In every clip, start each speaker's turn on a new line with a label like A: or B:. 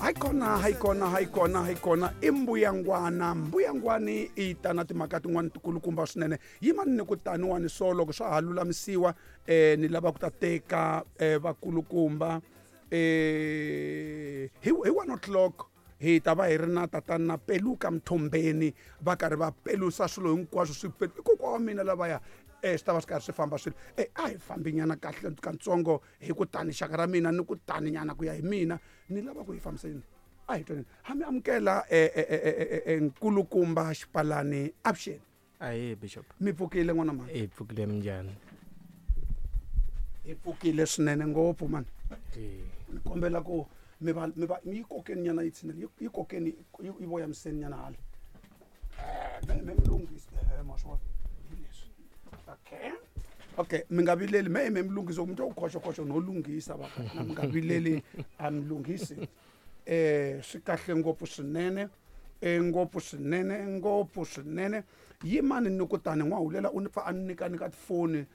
A: Hayi kona, hayi kona, hayi kona, hayi kona. I mbuyangwana. Mbuyangwani i ta na timhaka tin'wana tikulukumba swinene. Yimani ni ku taniwani so loko swa ha lulamisiwa ni lava ku ta teka vakulukumba hi 1 o'clock hi ta va hi ri na tatana Peluka Mthombeni va karhi va pelusa swilo hinkwaswo swi i kokwa wa mina lavaya swi ta va swi karhi swi famba swilo. A hi fambi nyana kahle katsongo hi ku tani xaka ra mina ni ku tani nyana ku ya hi mina ni lava ku hi fambisa yini. A hi twaneni. Ha mi amukela nkulukumba Xipalani avuxeni.
B: Ahee Bishop.
A: Mi pfukile n'wana mhani?
B: Hi pfukile, minjhani?
A: Hi pfukile swinene ngopfu mani. Ni kombela ku mi va mi va mi yi kokeni nyana yi tshinela yi kokeni yi voyamiseni nyana hala. Me mi lunghisa ma swi vona hi leswi. Okay. Okay, mi nga vileli me mi lunghisa mi twa ku khoxo khoxo no lunghisa va na mi nga vileli a mi lunghisi. Swi kahle ngopfu swinene. Ngopfu swinene, ngopfu swinene. Yimani ni ku tani n'wahulela u ni pfa a ni nyika nyika tifoni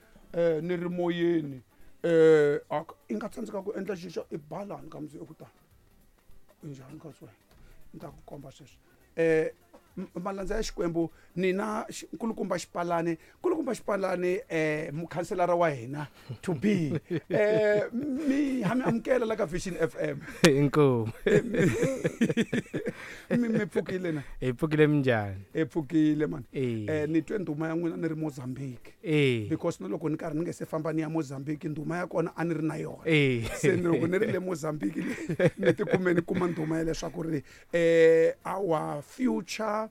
A: ni ri moyeni. I nga tsandzeka ku endla xixo i balani ka mundzuku ku tani. Njhani ka wena? Ni ta ku komba sweswi. Malandza ya Xikwembu nina nkulukumba Xipalani, nkulukumba Xipalani mukhanselara wa hina to be. Mi ha mi amukela la ka Vision FM.
B: Inkomu.
A: Mi pfukile na?
B: Hi pfukile, minjhani?
A: Hi pfukile man. Ni twe ndhuma ya n'wina ni ri Mozambique. Because na loko ni karhi ni nge se famba ni ya Mozambique ndhuma ya kona a ni ri na yona. Se ni loko ni ri le Mozambique ni tikume ni kuma ndhuma ya leswaku ri our future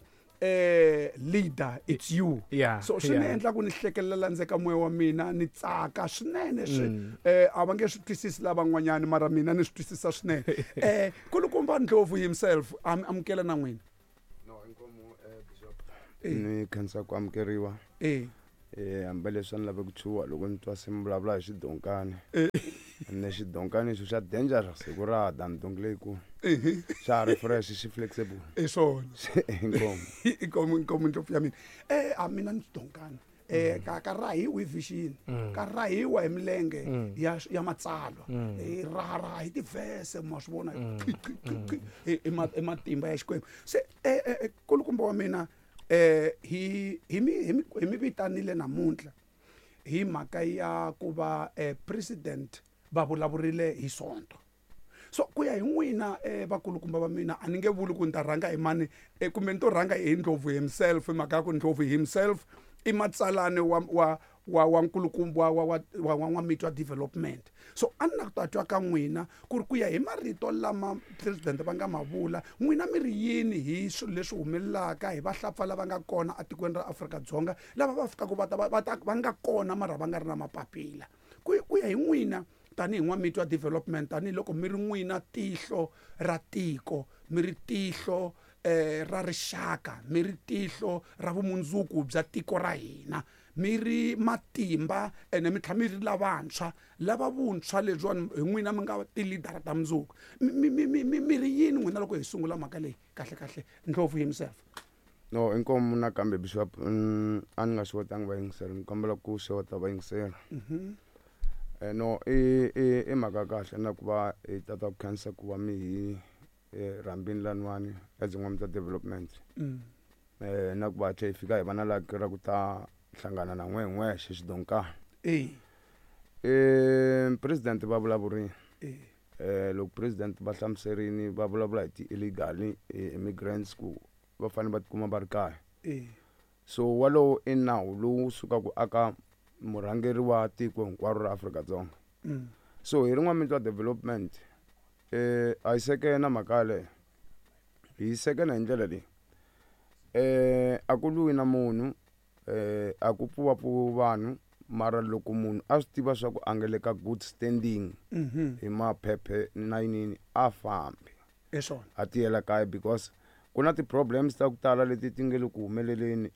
A: leader it's you. So swi ni endla ku ni hlekelela ndzeka ka moya wa mina ni tsaka swinene swi a va nge swi twisisi lavan'wanyani mara mina ni swi twisisa swinene. Nkulukumba Ndlovu himself amukela na n'wina.
C: No, inkomu Bishop. Ni khensa ku amukeriwa. Hambileswi a ni lave ku chuha loko ni twa se mi vulavula hi xidonkani. Ene xidonkani xo xa dangerous hi ku raha than donki leyikulu. Xa ha ri fresh xi flexible.
A: Hi swona.
C: Inkomu.
A: Inkomu, inkomu ndlopfu ya mina. A mina ni xidonkani. Ka rahiwa hi vision. Ka rahiwa hi milenge ya matsalwa. Raha raha hi tivhese ma swi vona. Hi matimba ya Xikwembu. Se nkulukumba wa mina hi mi vitanile namuntlha hi mhaka ya ku va president va vulavurile hi Sonto. So ku ya hi n'wina vakulukumba va mina a ni nge vuli ku ni ta rhanga hi mani kumbe ni to rhanga hi Ndlovu himself, hi mhaka ya ku Ndlovu himself i matsalani wa wa wa wa nkulukumba wa wa wa wa N'wamitwa Development. So a ni na ku ta twa ka n'wina ku ri ku ya hi marito lama president va nga ma vula, n'wina mi ri yini hi swilo leswi humelelaka hi vahlapfa lava nga kona etikweni ra Afrika-Dzonga lava va fikaka va ta va ta va nga kona mara va nga ri na mapapila. Ku ya hi n'wina tanihi N'wamitwa Development, tanihiloko mi ri n'wina tihlo ra tiko, mi ri tihlo ra rixaka, mi ri tihlo ra vumundzuku bya tiko ra hina, mi ri matimba ene mi tlhela mi ri lavantshwa, lava vuntshwa lebyiwani hi n'wina mi nga ti-leader ta mundzuku. Mi ri yini n'wina loko hi sungula mhaka leyi kahle kahle Ndlovu himself?
C: No, inkomu nakambe Bishop, a ni nga xewetanga vayingiseri, ni kombela ku xeweta vayingiseri. No, i mhaka kahle na ku va hi tata ku khensa ku va mi hi rhambini laniwani as N'wamitwa Development. Na ku va tlhe hi fika hi va na lucky ra ku ta hlangana na n'we hi n'wexe xidonkana. President va vulavurile. Loko president va hlamuserini va vulavula hi ti-illegal immigrants ku va fanele va tikuma va ri kaya. So walowo i nawu lowu sukaka aka murhangeri wa tiko hinkwaro ra Afrika-Dzonga. So hi ri N'wamitwa Development a yi sekena mhaka yaleyo. Hi sekena hi ndlela leyi. A ku lwiwi na munhu, a ku pfuwapfuwi vanhu, mara loko munhu a swi tiva swa ku a nga le ka good standing hi maphephe na yinini a fambi.
A: Hi swona.
C: A tiyela kaya because ku na ti-problems ta ku tala leti ti nge le ku humeleleni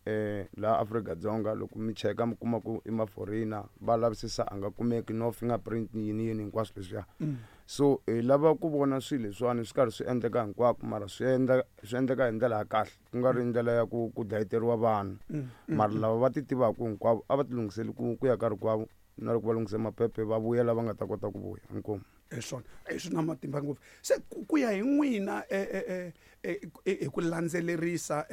C: laha Afrika-Dzonga. Loko mi cheka mi kuma ku i ma-foreigner va lavisisa a nga kumeki no fingerprint yini yini hinkwaswo leswiya. So hi lava ku vona swilo leswiwani swi karhi swi endleka hinkwako, mara swi endla swi endleka hi ndlela ya kahle, ku nga ri ndlela ya ku ku dlayeteriwa vanhu. Mara lava va ti tivaka hinkwavo a va ti lunghiseli ku ya ka rikwavo na loko va lunghise maphephe va vuya lava nga ta kota ku vuya. Inkomu.
A: Hi swona, swi na matimba ngopfu. Se ku ya hi n'wina, hi ku landzelerisa,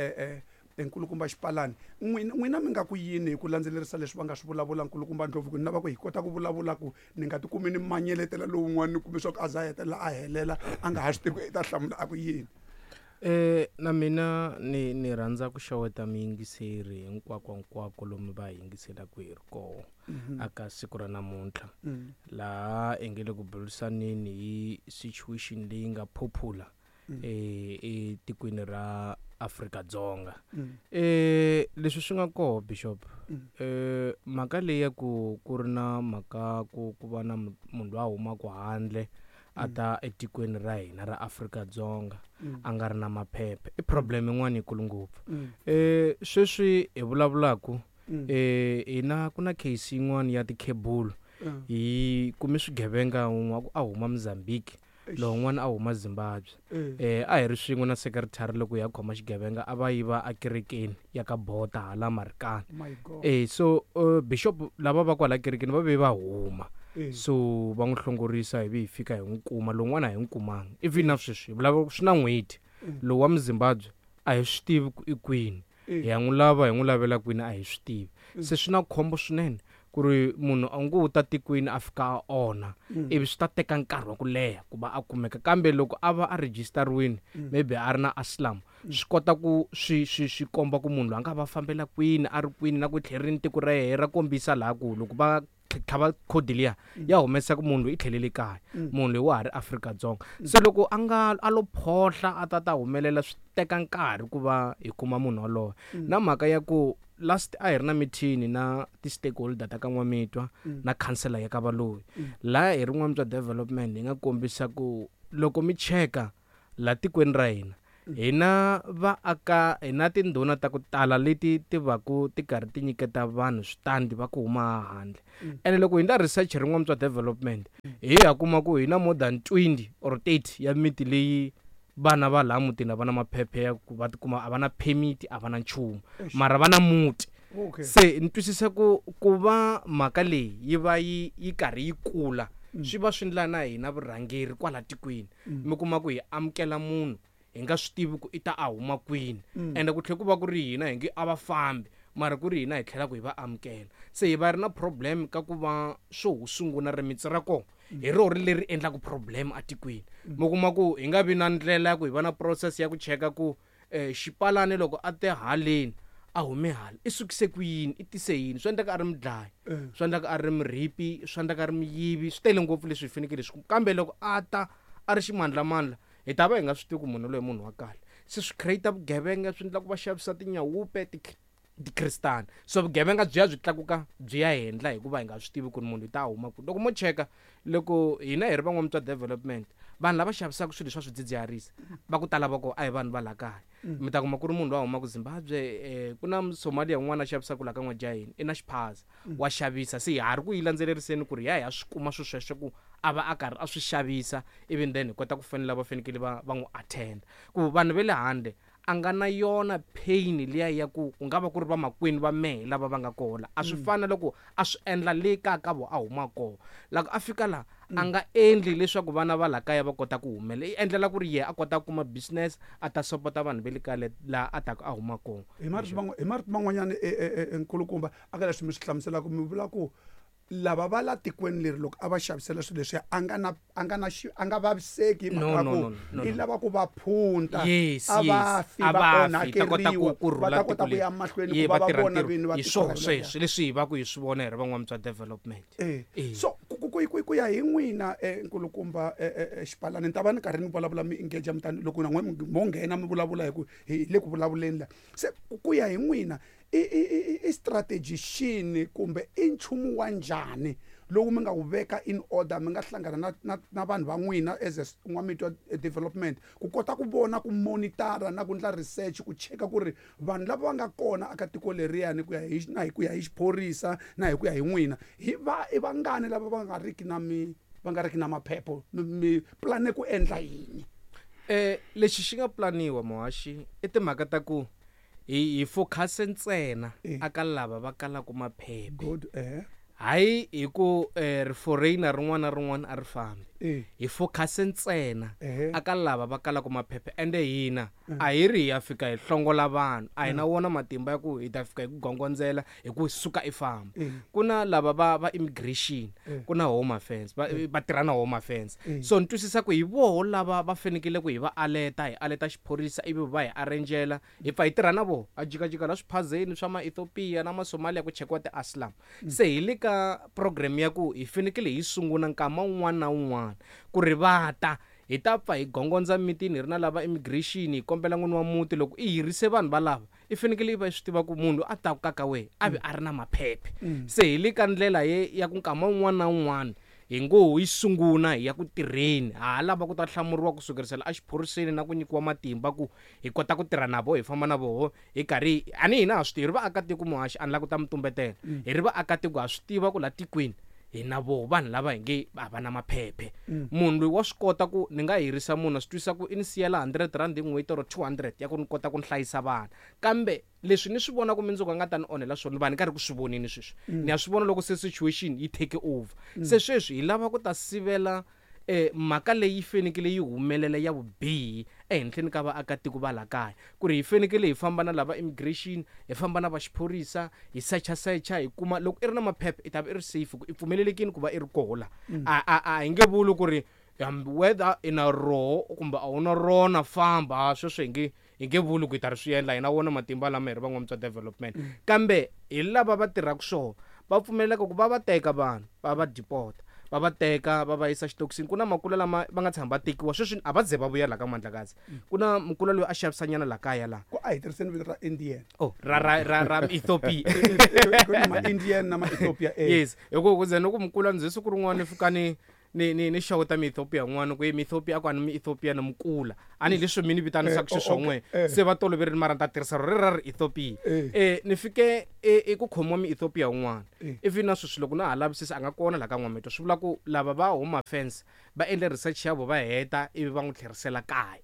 A: nkulukumba Xipalani, n'wina mi nga ku yini hi ku landzelerisa leswi va nga swi vulavula nkulukumba Ndlovu? Ku ni lava ku hi kota ku vulavula ku ni nga tikumi ni manyeletela lowun'wana, ni kume swa ku a za a hetelela a helela a nga ha swi tivi ku i ta hlamula a ku yini.
B: Na mina ni rhandza ku xeweta miyingiseri hinkwako hinkwako lomu va yingiselaka hi ri koho aka siku ra namuntlha, laha hi nge le ku burisaneni hi situation leyi nga popular etikweni ra Afrika-Dzonga. Leswi swi nga koho, Bishop, mhaka leyi ya ku ku ri na mhaka ku ku va na munhu loyi a humaka handle a ta etikweni ra hina ra Afrika-Dzonga a nga ri na maphepha i problem yin'wana yikulu ngopfu. Sweswi hi vulavulaku, hina ku na case yin'wana ya tikhebulu, hi kume swigevenga, wun'we a huma Mozambique, lowun'wana a huma Zimbabwe. A hi ri swin'we na secretary loko hi ya khoma xigevenga, a va yiva akerekeni ya ka Bota hala Marikana. So bishop lava va kwala kerekeni va ve va huma, so va n'wi hlongorisa, hi vi hi fika hi n'wi kuma. Lowun'wana a hi n'wi kumanga, even na sweswi hi vulavula swi na n'hweti. Lowu wa Muzimbabwe a hi swi tivi ku i kwini, hi ya n'wi lava, hi n'wi lavela kwini, a hi swi tivi. Se swi na khombo swinene ku ri munhu a ngo ta tikweni a fika a onha, ivi swi ta teka nkarhi wa ku leha ku va a kumeka. Kambe loko a va a register-wini, maybe a ri na asylum, swi kota ku swi swi swi komba ku munhu loyi a nga va fambela kwini, a ri kwini, na ku tlherini tiko ra yehe ra kombisa laha ku loko va tlhava khodi liya ya humesa ku munhu loyi i tlhelele kaya, munhu loyi wa ha ri Afrika-Dzonga. Se loko a nga a lo phohla a ta ta humelela, swi teka nkarhi ku va hi kuma munhu waloye. Na mhaka ya ku last a hi ri na meeting na ti-stakeholder ta ka N'wamitwa na councillor ya ka Valoyi, laha hi ri N'wamitwa Development hi nga kombisa ku loko mi cheka la tikweni ra hina, hina vaaka hi na tindhuna ta ku tala leti ti va ku ti karhi ti nyiketa vanhu switandi va ku huma handle. Ene loko hi ndla research ri N'wamitwa Development, hi ya kuma ku hi na more than 20 or 30 ya miti leyi vana va laha mutini a va na maphephe ya ku va tikuma, a va na permit, a va na nchumu, mara va na muti. Se ni twisisa ku ku va mhaka leyi yi va yi karhi yi kula, swi va swi ndla na hina vurhangeri kwala tikweni, mi kuma ku hi amukela munhu hi nga swi tivi ku i ta a huma kwini, ende ku tlhela ku va ku ri hina hi nge a va fambi, mara ku ri hina hi tlhela ku hi va amukela. Se hi va ri na problem ka ku va swo hu sungula rimitsi ra kona hi roho ri leri endlaka problem atikweni. Mi kuma ku hi nga vi na ndlela ya ku hi va na process ya ku cheka ku Xipalani loko a te haleni a hume hala, i sukise ku yini, i tise yini. Swi endleka a ri mudlayi, swi endleka a ri muripi, swi endleka a ri muyivi, swi tele ngopfu leswi hi fanekele swi. Kambe loko a ta a ri ximandlamandla, hi ta va hi nga swi tivi ku munhu loyi munhu wa kahle. Se swi create vugevenga, swi endla ku va xavisa tinyawupe, tikristana, so vugevenga byi ya byi tlakuka byi ya henhla, hikuva hi nga swi tivi ku ri munhu i ta huma kwini. Loko mo cheka, loko hina hi ri van'wamutwa development, vanhu lava xavisaka swilo swa swidzidziharisi va ku tala va kona a hi vanhu va laha kaya. Mi ta kuma ku ri munhu loyi a humaka Zimbabwe, ku na Somalia un'wana a xavisaka laha ka N'wajaheni, i na xiphaza, wa xavisa. Se ha ri ku yi landzeleriseni ku ri ya hi ya swi kuma swilo sweswo ku a va a karhi a swi xavisa, even then hi kota ku fanele va fanekele va n'wi attend ku vanhu va le handle a nga na yona pain liya ya ku ku nga va ku ri vamakwenu va mehe lava va nga koho la. A swi fani na loko a swi endla le kaya ka vo a huma koho. Loko a fika la, a nga endli leswaku vana va la kaya va kota ku humelela, i endlela ku ri yehe a kota ku kuma business, a ta sopota vanhu va le kaya le laha a taka a huma kona.
A: Hi marito man'wanyana, nkulukumba, a ka leswi mi swi hlamuselaka, mi vula ku lava va la tikweni leri loko a va xavisela swilo leswiya, a nga na, a nga na xi, a nga vaviseki hi mhaka
B: No,
A: ku
B: no, no, no,
A: i
B: no.
A: lava ku va phunta.
B: Yes,
A: A va
B: yes.
A: fi,
B: A
A: va
B: va fi, ta kota
A: onhakeriwa,
B: ku
A: va
B: rhula
A: ta kota
B: tiko
A: ku ya
B: leri.
A: mahlweni
B: Ye,
A: ku va
B: va
A: va
B: tirha
A: vona
B: ntirho.
A: vini va
B: Hi
A: tiko
B: swoho
A: ra hina.
B: sweswo leswi hi va ku hi swi vona hi ri van'wamutwa development.
A: So ku ya hi n'wina, nkulukumba, Xipalani, ni ta va ni karhi ni vulavula mi engage mi tani loko na n'we mo nghena mi vulavula hi ku hi le ku vulavuleni la. Se ku ya hi n'wina, i strategy xini kumbe i nchumu wa njhani lowu mi nga wu veka in order, mi nga hlangana na vanhu va n'wina as a N'wamitwa development ku kota ku vona, ku monitor na ku endla research, ku cheka ku ri vanhu lava va nga kona aka tiko leriyani ku ya hi na hi ku ya hi xiphorisa na hi ku ya hi n'wina, hi va i vangani lava va nga riki na mi, va nga riki na maphepho, mi plane ku endla yini?
B: Lexi xi nga planiwa muhaxi i timhaka ta ku hi focus ntsena aka lava va kalaka maphephe.
A: Good,
B: Hayi hi ku ri foreigner rin'wana na rin'wana a ri fambi. Hi focus ntsena aka lava va kalaka maphepha, ende hina a hi ri hi ya fika hi hlongola vanhu, a hi na wona matimba ya ku hi ta fika hi ku gongondzela hi ku suka i famba. Ku na lava va immigration, ku na home affairs, va tirha na home affairs. So ni twisisa ku hi voho lava va fanekele ku hi va aleta, hi aleta xiphorisa ivi va hi arrangela, hi pfa hi tirha na voho. A jikajika la swiphazeni swa ma-Ethiopia na ma-Somalia ku chekiwa ti-asylum. Se hi le ka program ya ku hi fanekele hi sungula nkama wun'wana na wun'wana ku ri va ta, hi ta pfa hi gongondza mitini hi ri na lava immigration, hi kombela n'wini wa muti loko i hirise vanhu valava, i fanekele i va i swi tiva ku munhu a ta ka ka wehe a vi a ri na maphephe. Se hi le ka ndlela ye ya ku nkama wun'wana na wun'wana hi ngo hi sungula hi ya ku tirheni, ha lava ku ta hlamuriwa ku sukerisela exiphoriseni na ku nyikiwa matimba ku hi kota ku tirha na voho, hi famba na voho hi karhi. A ni hina ha swi tivi, hi ri vaakatiko muhaxi, a ni lava ku ta mi tumbetela, hi ri vaakatiko ha swi tiva ku la tikweni hi na voho vanhu lava hi nge a va na maphephe. Munhu loyi wa swi kota ku ni nga hirisa munhu a swi twisisa ku i ni siyela 100 rand hi n'hweti or 200 ya ku ni kota ku ni hlayisa vana, kambe leswi ni swi vona ku mundzuku a nga ta ni onhela swona, ni va ni karhi ku swi vonini sweswi. Ni ya swi vona loko se situation yi take over. Se sweswi hi lava ku ta sivela mhaka leyi fanekele yi humelela ya vubihi ehenhleni ka vaakatiko va la kaya, ku ri hi fanekele hi famba na lava immigration, hi famba na va xiphorisa, hi secha secha, hi kuma loko i ri na maphepha i ta va i ri safe ku i pfumelelekini ku va i ri koho la. A hi nge vuli ku ri hambi whether i na roho kumbe a wu na rona famba, sweswo hi nge vuli ku hi ta ri swi endla, hi na wona matimba lama hi ri van'wamutwa development. Kambe hi lava va tirhaka swona va pfumeleleka ku va va teka vanhu va va deport, va va teka va va yisa xitokisini. Ku na makula lama va nga tshama va tekiwa sweswi a va ze va vuya la ka Mandlakazi. Ku na mukula loyi a xavisanyana la kaya la.
A: Ku a hi tirhiseni vito ra Indian.
B: Oh, ra ra ra ra Ethiopia.
A: Ku na ma Indian na ma Ethiopia.
B: Yes, hi ku ze ni ku mukula ndzi siku rin'wana ni fika ni ni ni ni xeweta mi Ethiopia n'wana ku mi Ethiopia a ku a ni mi Ethiopia ni mukula. A ni leswi mi ni vitanisaka xiswona n'we. Se va toloverile mara ni ta tirhisa ro ra ri Ethiopia. Ni fike i ku khomiwa mi Ethiopia un'wana. Ivi na sweswi loko na ha lavisisa a nga kona la ka N'wamitwa, swi vula ku lava va home affairs va endle research ya vo va heta ivi va n'wi tlherisela kaya.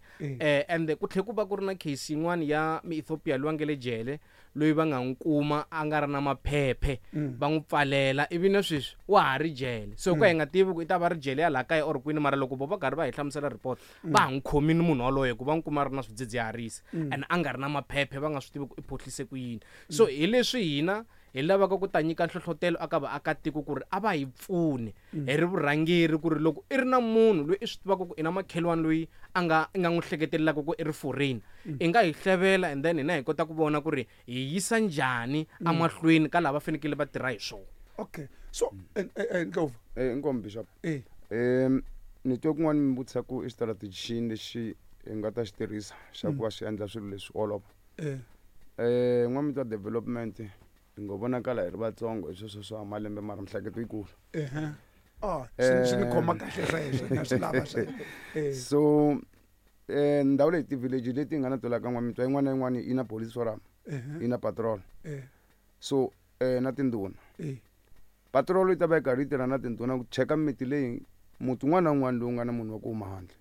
B: And ku tlhe ku va ku ri na case yin'wana ya mi Ethiopia loyi a nge le jele, loyi va nga n'wi kuma a nga ri na maphephe, va n'wi pfalela ivi na sweswi wa ha ri jele. So ku hi nga tivi ku i ta va ri jele ya laha kaya or kwini, mara loko vo va karhi va hi hlamusela report va ha n'wi khomini munhu waloye ku va n'wi kuma a ri na swidzidziharisi and a nga ri na maphephe, va nga swi tivi ku i phohlise ku yini. So hi leswi hina hi lavaka ku ta nyika nhlohlotelo aka vaakatiko ku ri a va hi pfuni hi ri vurhangeri, ku ri loko i ri na munhu loyi i swi tivaka ku i na makhelwani loyi a nga i nga n'wi hleketelelaka ku i ri foreign, i nga hi hlevela and then hina hi kota ku vona ku ri hi yisa njhani emahlweni ka lava fanekele va tirha hi swona.
A: Okay, so Ndlovu.
C: Inkomu Bishop. Ni twe kun'wana mi vutisa ku i strategy xini lexi hi nga ta xi tirhisa xa ku va xi endla swilo leswi olova. N'wamitwa development hi ngo vonakala hi ri vatsongo hi sweswo swa malembe mara mihleketo yikulu.
A: Swi ni khoma kahle sweswo, na swi lava sweswo.
C: So ndhawu leyi ti-village leti hi nga na tona ka N'wamitwa yin'wana na yin'wana yi na police forum, yi na patrol. So na tindhuna. Patrol yi ta va yi karhi yi tirha na tindhuna ku cheka miti leyi muti wun'wana na wun'wana lowu nga na munhu wa ku huma handle.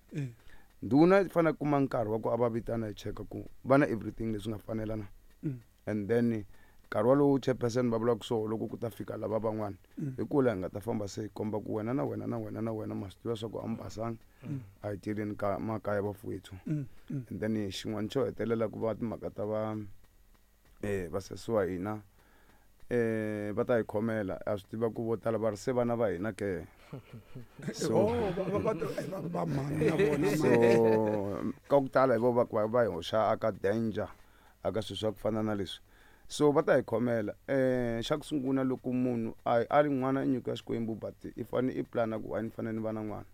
C: Ndhuna yi fanele ku kuma nkarhi wa ku a va vitana yi cheka ku va na everything leswi nga fanela na. And then nkarhi walowo chairperson va vulaka swona loko ku ta fika lava van'wana, hi kula hi nga ta famba se hi komba ku wena na wena na wena na wena ma swi tiva swa ku a mi basanga, a hi tirheni ka makaya vafowethu. And then xin'wana xo hetelela ku va timhaka ta va vasesi wa hina va ta hi khomela, a swi tiva ku vo tala va ri se vana va hina ke. So
A: va mhani na vona,
C: so ka ku tala hi vo va ku va hi hoxa aka danger aka swilo swa ku fana na leswi. So va ta hi khomela. Xa ku sungula loko munhu a ri n'wana i nyiko ya Xikwembu, but i fane i plana ku a ni fanele ni va na n'wana.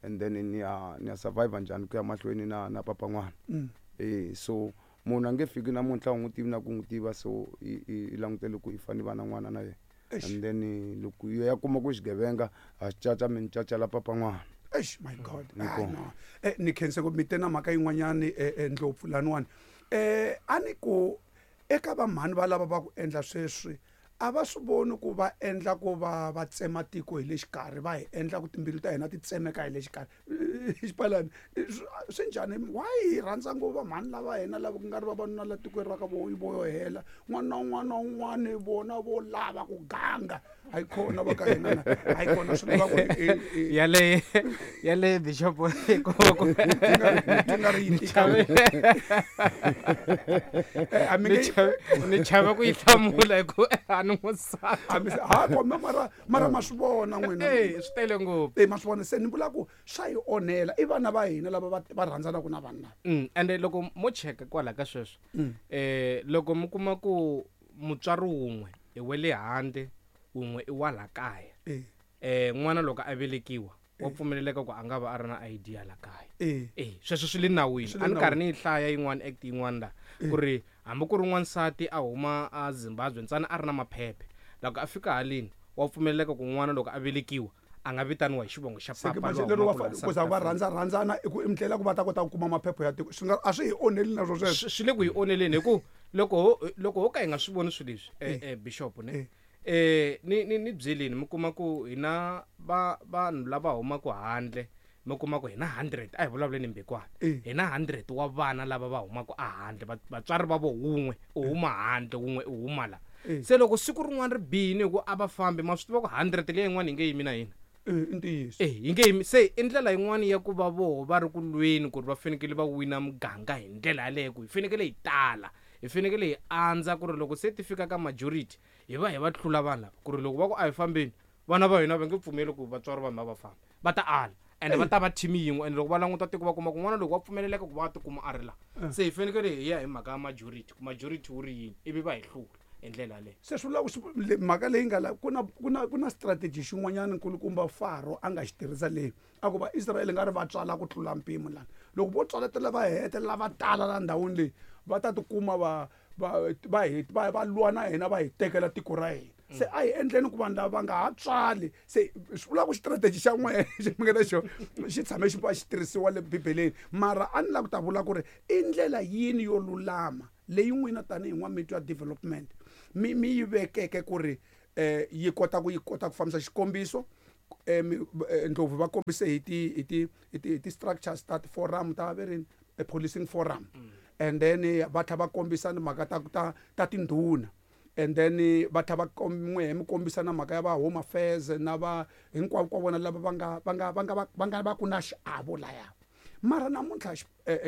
C: And then ni ya survive njhani ku ya mahlweni na papa n'wana. So munhu a nge fiki namuntlha u n'wi tivi na ku n'wi tiva, so i langutele ku i fanele va na n'wana na yena. And then loko ya kuma ku xigevenga a xi caca mi ni cacela papa n'wana.
A: Eish, my God. No. Ni khense ku mi te na mhaka yin'wanyani, Ndlopfu laniwani. A ni ku eka vamhani va lava va ku endla sweswi a va swi voni ku va endla ku va tsema tiko hi le xikarhi, va hi endla ku timbilu ta hina ti tsemeka hi le xikarhi. Xipalani swi njhani? Why hi rhandza ngopfu vamhani lava hina lava ku nga ri vavanuna la tikweni ra ka vo yo hela n'wana na un'wana na un'wana vona vo lava ku ganga. A yi kona va ka hina na a yi kona swi lava ku
B: Yale bishop ko ko
A: ti nga ri yi tika. A mi nge
B: ni chava ku yi hlamula hi ku a ni n'wansati.
A: A mi ha koma, mara ma swi vona n'wina.
B: Eh, swi tele ngopfu.
A: Eh, ma swi vona, se ni vula ku swa hi onhela, i vana va hina lava va rhandzanaka na vanhu lava.
B: Ende loko mo cheka kwala ka sweswo, loko mi kuma ku mutswari wun'we i wa le handle, wun'we i wa la kaya, n'wana loko a velekiwa wa pfumeleleka ku a nga va a ri na ID ya la kaya. Sweswo swi le nawini.
A: Swi le
B: A ni karhi
A: nawini.
B: ni yi hlaya yin'wana act yin'wana la, ku ri hambi ku ri n'wansati a huma a Zimbabwe ntsena a ri na maphephe, loko a fika haleni wa pfumeleleka ku n'wana loko a velekiwa a nga vitaniwa hi xivongo xa
A: Se ke
B: papa
A: manje
B: loyi
A: lero va
B: humaka laha
A: ku za
B: South
A: va
B: Africa.
A: rhandza rhandzana i ku i ndlela ku va ta kota ku kuma maphephe ya tiko, swi nga a swi hi onheli na swo sweswo.
B: Swi le ku hi onheleni hi ku loko ho ka hi nga swi voni swilo leswi, bishop ne? Ni byeleni mi kuma ku hina vanhu lava humaka handle, mi kuma ku hina 100, a hi vulavuleni mbekwana. Hina 100 wa vana lava va humaka a handle, vatswari va vo wun'we u huma handle, wun'we u huma la. Se loko siku rin'wana ri bihile hi ku a va fambi, ma swi tiva ku 100 leyi yin'wana yi nge yimi na hina.
A: I ntiyiso.
B: Yi nge yimi. Se i ndlela yin'wana ya ku va voho va ri ku lweni ku ri va fanekele va wina muganga hi ndlela yaleyo, ku hi fanekele hi tala, hi fanekele hi andza ku ri loko se ti fika ka majority hi va hi va tlula vanhu lava, ku ri loko va ku a hi fambeni, vana va hina va nge pfumeli ku vatswari va hina va famba, va ta ala. Ende va ta va team yin'we, ende loko va languta tiko va kuma ku n'wana loko wa pfumeleleka ku va tikuma a ri la. Se hi fanekele hi ya hi mhaka ya majority, ku majority wu ri yini, ivi va hi hlula hi ndlela yaleyo.
A: Se swi vula ku swi, mhaka leyi nga la, ku na strategy xin'wanyana nkulukumba Faro a nga xi tirhisa leyi, a ku va Israel nga ri va tswala ku tlula mpimo lana. Loko vo tswaletela va hetelela va tala la ndhawini leyi, va ta tikuma va lwa na hina, va hi tekela tiko ra hina. Se a hi endleni ku vanhu lava va nga ha tswali. Se swi vula ku strategy xa n'we xi mi nga na xona xi tshame xi va xi tirhisiwa le Bibeleni, mara a ni lava ku ta vula ku ri i ndlela yini yo lulama leyi n'wina tanihi n'wamitwa development mi yi vekeke ku ri yi kota ku yi kota ku fambisa. Xikombiso, Ndlovu va kombise hi ti structures ta ti-forum ta ve ri policing forum, and then va tlhela va kombisa ni mhaka ta tindhuna, and then va tlhela va n'we mi kombisa na mhaka ya va Home Affairs na va hinkwavo ka vona lava va nga va ku na xiavo laya. Mara namuntlha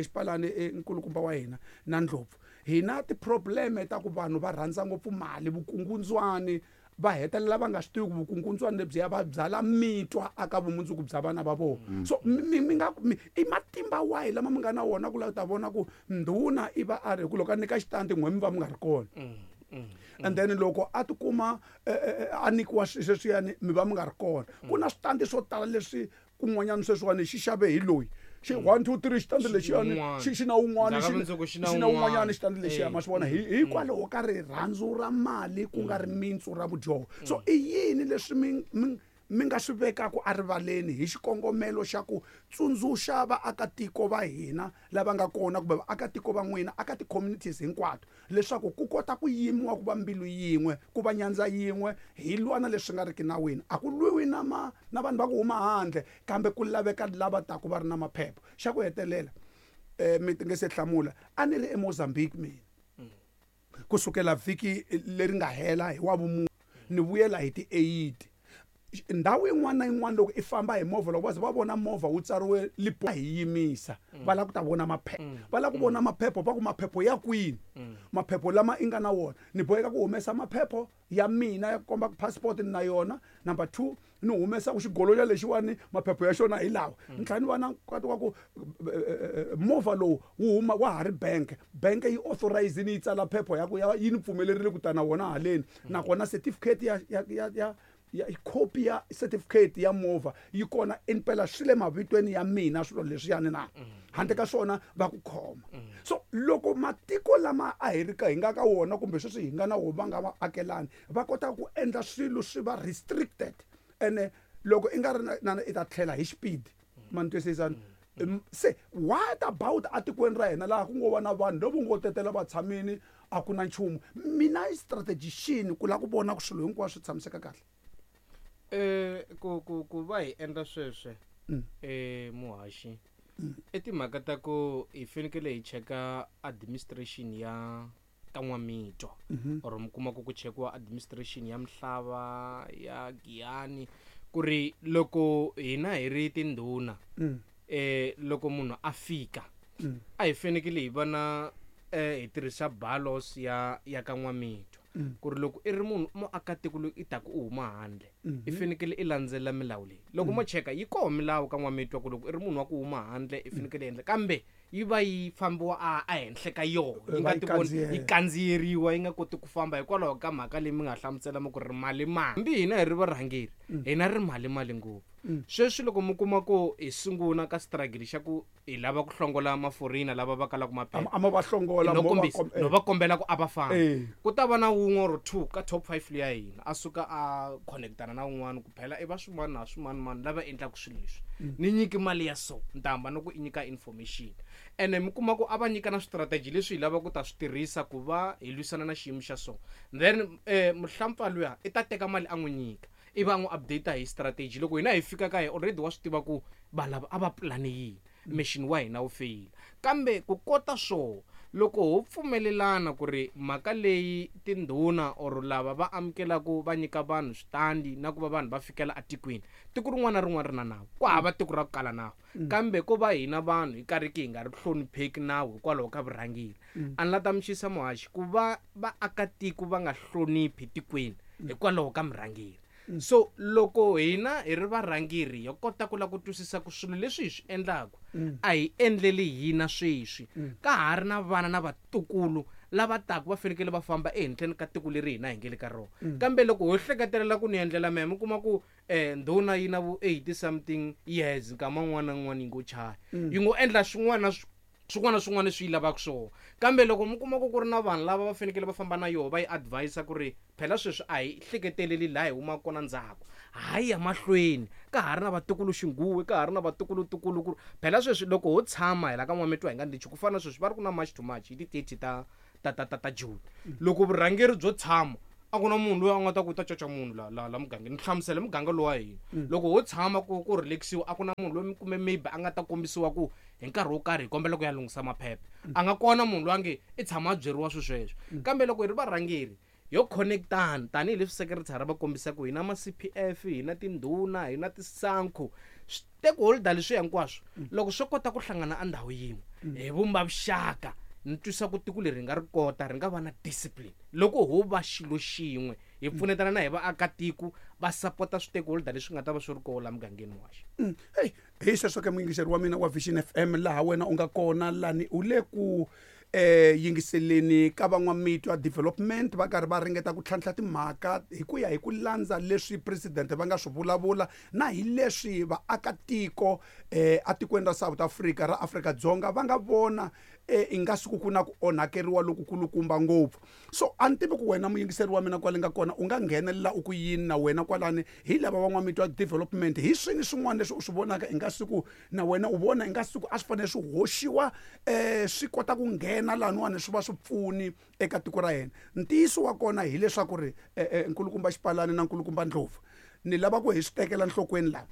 A: xipalani, nkulukumba wa hina na Ndlopfu, hi na ti-problem ta ku vanhu va rhandza ngopfu mali, vukungundzwani, va hetelela va nga swi tivi ku vukungundzwani lebyiya va byala mitwa aka vumundzuku bya vana va vona. So mi nga ku, mi, i matimba wahi lama mi nga na wona ku lava ta vona ku ndhuna i va a ri ku loko a nyika xitandi n'we mi va mi nga ri kona. And then loko a tikuma, a nyikiwa swilo sweswiyani mi va mi nga ri kona. Ku na switandi swo tala leswi kun'wanyana sweswiwani xi xave hi loyi. Xi 1 2 3 xitandi
B: Xi
A: lexiyani,
B: un'wana.
A: xi na un'wana,
B: Ndzhaku ka mundzuku xi na
A: xi na un'wanyana
B: un'wana.
A: xitandi lexiya, ma swi vona. Hikwalaho ka rirhandzu ra mali ku nga ri mintsu ra vudyoho. So i yini leswi mi nga swi vekaka erivaleni hi xikongomelo xa ku tsundzuxa vaakatiko va hina lava nga kona kumbe vaakatiko va n'wina aka ti-communities hinkwato, leswaku ku kota ku yimiwa ku va mbilu yin'we, ku va nyandza yin'we, hi lwa na leswi nga riki nawini. A ku lwiwi na vanhu va ku huma handle, kambe ku laveka lava taka va ri na maphepha. Xa ku hetelela, mi nge se hlamula, a ni ri eMozambique mina kusukela vhiki leri nga hela hi wa vumune, ni vuyela hi ti 8. Ndhawu yin'wana na yin'wana loko i famba hi movha, loko va ze va vona movha wu tsariwe Limpopo, hi yimisa. Va lava ku ta vona maphepha. Va lava ku vona maphepha, va ku maphepha ya kwini? Maphepha lama i nga na wona. Ni boheka ku humesa maphepha ya mina ya ku komba ku passport ni na yona. Number 2, ni humesa ku xigolonyana lexiwani maphepha ya xona hi lawa. Ni tlhela ni va na nkati wa ku movha lowu wu huma wa ha ri bank. Bank yi authorize ni yi tsala phepha ya ku ya yi ni pfumelerile ku ta na wona haleni. Nakona certificate ya, ya, ya, ya, ya copy ya certificate ya movha yi kona impela swi le mavitweni ya mina swilo leswiyani na. Handle ka swona va ku khoma. So loko matiko lama a hi ri ka hi nga ka wona kumbe sweswi hi nga na wona va nga va akelani, va kota ku endla swilo swi va restricted, ene loko i nga ri na i ta tlhela hi xipidi. Ma ni twisisa? Se what about atikweni ra hina laha ku ngo va na vanhu lavo ngo tetela va tshamini, a ku na nchumu? Mina i strategy xini ku lava ku vona ku swilo hinkwaswo swi tshamiseka kahle?
B: Ku va hi endla sweswe, muhaxi, i timhaka ta ku hi fanekele hi cheka administration ya ka N'wamitwa or mi kuma ku ku chekiwa administration ya mihlava ya Giyani ku ri loko hina hi ri tindhuna loko munhu a fika a hi fanekele hi va na hi tirhisa balos ya ka N'wamitwa ku ri loko i ri munhu muakatiko loyi i taku u huma handle i fanekele i landzelela milawu leyi loko mo cheka yi koho milawu ka N'wamitwa ku loko i ri munhu wa ku huma handle i fanekele endla kambe yi va yi fambiwa a henhla ka yona yi nga tivoni yi kandziyeriwa yi nga koti ku famba hikwalaho ka mhaka leyi mi nga hlamusela mi ku ri mali mali hambi hina hi ri varhangeri hina ri mali mali ngopfu sweswi loko mi kuma ku hi sungula ka struggle xa ku hi lava ku hlongola maforina lava va kalaka maphepha
A: a ma va hlongola
B: no kombisa no va kombela ku a va fambi ku ta va na wun'we or two ka top 5 liya hina a suka a connectana na wun'wana ku phela i va swin'wana na swin'wana mani lava endlaka swilo leswi ni nyiki mali ya so ni ta hamba ni ku i nyika information ene mi kuma ku a va nyika na swistrategy leswi hi lava ku ta swi tirhisa ku va hi lwisana na xiyimo xa so then muhlampfa luya i ta teka mali a n'wi nyika i va n'wi update hi strategy loko hina hi fika ka hi already wa swi tiva ku vanhu lava a va pulane yini mission wa hina wu feyila kambe ku kota swo loko ho pfumelelana ku ri mhaka leyi tindhuna or lava va amukelaka va nyika vanhu switandi na ku va vanhu va fikela etikweni tiko rin'wana na rin'wana ri na nawu ku hava tiko ra ku kala nawu kambe ko va hina vanhu hi karhi ki hi nga ri hlonipheki nawu hikwalaho ka vurhangeri a ni la ta mixisa muhaxi ku va vaakatiko va nga hloniphi tikweni hikwalaho ka murhangeri so loko hina hi ri varhangeri hi kota ku lava ku twisisa ku swilo leswi hi swi endlaka a hi endleli hina sweswi ka ha ri na vana na vatukulu lava taku va fanekele va famba ehenhleni ka tiko leri hina hi nge le ka rona kambe loko ho hleketelela ku ni endlela mehe mi kuma ku ndhuna yi na vo 80 something years nkama wun'wana na wun'wana yi ngo chaya yi ngo endla swin'wana swin'wana na swin'wana leswi yi lavaka swona kambe loko mi kuma ku ku ri na vanhu lava va fanekele va famba na yoho va yi advise ku ri phela sweswi a hi hleketeleli laha hi humaka kona ndzhaku hayi ya mahlweni ka ha ri na vatukulu xinguwe ka ha ri na vatukulutukulu ku phela sweswi loko ho tshama hi la ka N'wamitwa hi nga ndichi ku fana na sweswi va ri ku na March to March hi ti-30 ta June loko vurhangeri byo tshama a ku na munhu loyi a nga ta ku ta caca munhu la la la mugangeni ni hlamusela muganga lowa hina loko ho tshama ku ku relaxiwa a ku na munhu loyi kumbe maybe a nga ta kombisiwa ku hi nkarhi wo karhi hi kombela ku ya lunghisa maphepha a nga kona munhu loyi a nge i tshama a byeriwa swilo sweswo kambe loko hi ri varhangeri yo connectana tanihileswi secretary va kombisaka hi na ma CPF hi na tindhuna hi na tisankhu stakeholder leswi hinkwaswo loko swo kota ku hlangana endhawu yin'we hi vumba vuxaka ni twisa ku tiko leri hi nga ri kota ri nga va na discipline loko ho va xilo xin'we hi pfunetana na hi vaakatiko va sapota stakeholder leswi nga ta va swi ri koho la mugangeni wa xa
A: hey hi sweswo ke muyingiseri wa mina wa Vision FM laha wena u nga kona lani u le ku yingiseleni ka van'wamitwa development va karhi va ringeta ku tlhantlha timhaka hi ku ya hi ku landza leswi president va nga swi vulavula na hi leswi vaakatiko etikweni ra South Africa ra Afrika-Dzonga va nga vona i nga siku ku na ku onhakeriwa lokukulukumba ngopfu so a ni tivi ku wena muyingiseri wa mina kwale nga kona u nga nghenelela u ku yini na wena kwalani hi lava van'wamitwa development hi swini swin'wana leswi u swi vonaka i nga siku na wena u vona i nga siku a swi fanele swi hoxiwa swi kota ku nghena laniwani swi va swi pfuni eka tiko ra hina ntiyiso wa kona hileswaku ri nkulukumba Xipalani na nkulukumba Ndlovu ni lava ku hi swi tekela nhlokweni laha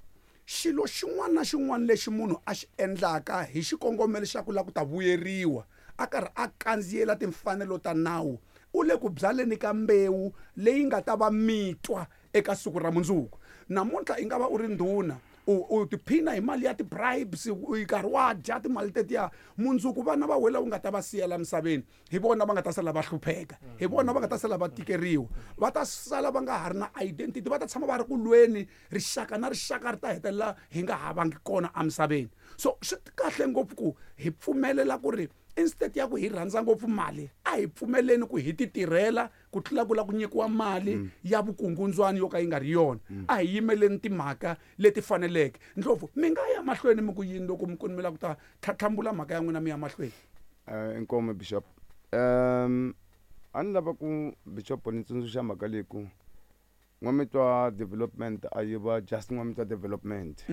A: xilo xin'wana na xin'wana lexi munhu a xi endlaka hi xikongomelo xa ku lava ku ta vuyeriwa a karhi a kandziyela timfanelo ta nawu u le ku byaleni ka mbewu leyi nga ta va mitwa eka siku ra mundzuku namuntlha i nga va u ri ndhuna u tiphina hi mali ya ti-bribes u karhi wa dya timali tetiya mundzuku vana va wena u nga ta va siyela misaveni hi vona va nga ta sala va hlupheka hi vona va nga ta sala va tikeriwa va ta sala va nga ha ri na identity va ta tshama va ri ku lweni rixaka na rixaka ri ta hetelela hi nga ha vangi kona emisaveni so swi kahle ngopfu ku hi pfumelela ku ri instead ya ku hi rhandza ngopfu mali a hi pfumeleni ku hi ti tirhela ku tlula ku la ku nyikiwa mali ya vukungundzwani yo ka yi nga ri yona a hi yimeleni timhaka leti faneleke Ndlovu mi nga ya mahlweni mi ku yini loko mi ku mi lava ku ta tlhatlhambula mhaka ya n'wina mi ya mahlweni
C: Inkomu Bishop a ni lava ku Bishop ni tsundzuxa mhaka leyi ku N'wamitwa development a yi va just N'wamitwa development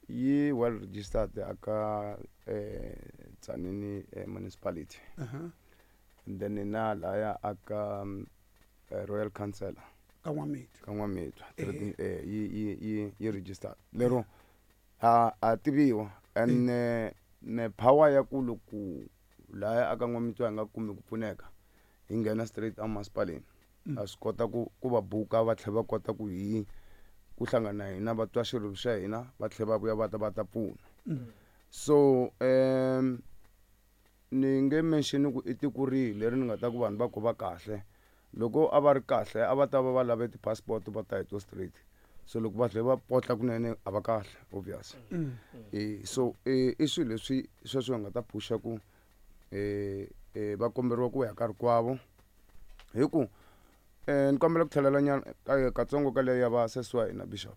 C: yi well registered aka Tzaneen municipality and then na laya aka Royal Council
A: ka N'wamitwa
C: ka N'wamitwa yi registered lero a tiviwa and ne power ya ku loko Laya aka N'wamitwa hi nga kumi ku pfuneka, hi nghena straight emasipaleni. A swi kota ku va buka, va tlhela va kota ku hi ku hlangana na hina, va twa xirilo xa hina, va tlhela va vuya va ta va ta pfuna. So ni nge mention ku i tiko rihi leri ni nga ta ku vanhu va ku va kahle. Loko a va ri kahle, a va ta va va lave ti-passport, va ta hi to straight. So loko va tlhela va potla kunene, a va kahle, obvious. So i swilo leswi sweswo hi nga ta phusha ku va komberiwa ku ya ka rikwavo, hi ku ni kombela ku tlhelela nyana katsongo ka leyo ya va sesi wa hina, Bishop.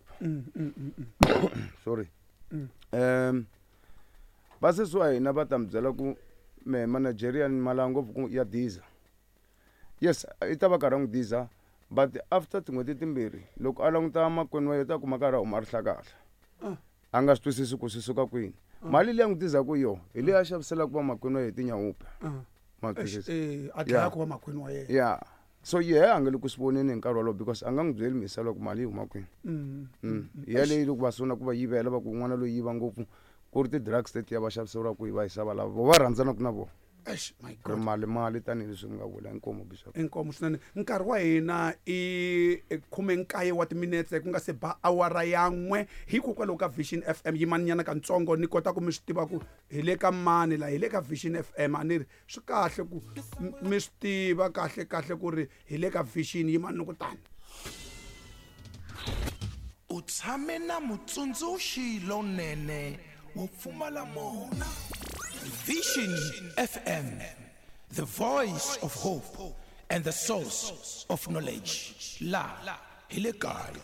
C: Sorry. Va sesi wa hina va ta mi byela ku me ma Nigerian ma lava ngopfu ku ya diza. Yes, i ta va karhi a n'wi diza, but after tin'hweti timbirhi, loko a languta makwenu wa yena, u ta kuma karhi a huma rihlakahla. A nga swi twisisi ku swi suka kwini. Mali leyi a n'wi dizaku yo hi leyi a xaviselaka vamakwenu wa yena tinyawupe. Ma twisisa?
A: A dlaya ku va makwenu wa yena.
C: Yeah, so yehe a nga le ku swi voneni hi nkarhi wolowo, because a nga n'wi byeli misalo ku mali yi huma kwini. Hi yaleyo loko va sungula ku va yivela, va ku n'wana loyi yiva ngopfu, ku ri ti-drugs tetiya va xaviseriwaka hi va yisa lava vo va rhandzanaka na vona.
A: Eish, my
C: Ri
A: God.
C: Mali mali tanihileswi mi nga vula. Inkomu, Bishop.
A: Inkomu swinene. Nkarhi wa hina i 19 wa timinetse ku nga se ba awara ya 1. Hikokwalaho ka Vision FM, yimaninyana katsongo ni kota ku mi swi tiva ku hi le ka mani la. Hi le ka Vision FM. A ni ri swi kahle ku mi swi tiva kahle kahle ku ri hi le ka Vision. Yimani ni ku tani.
D: U tshame na mutsundzuxi lonene wo pfumala mona. Vision FM, the voice of hope and the source of knowledge. La hi le kaya.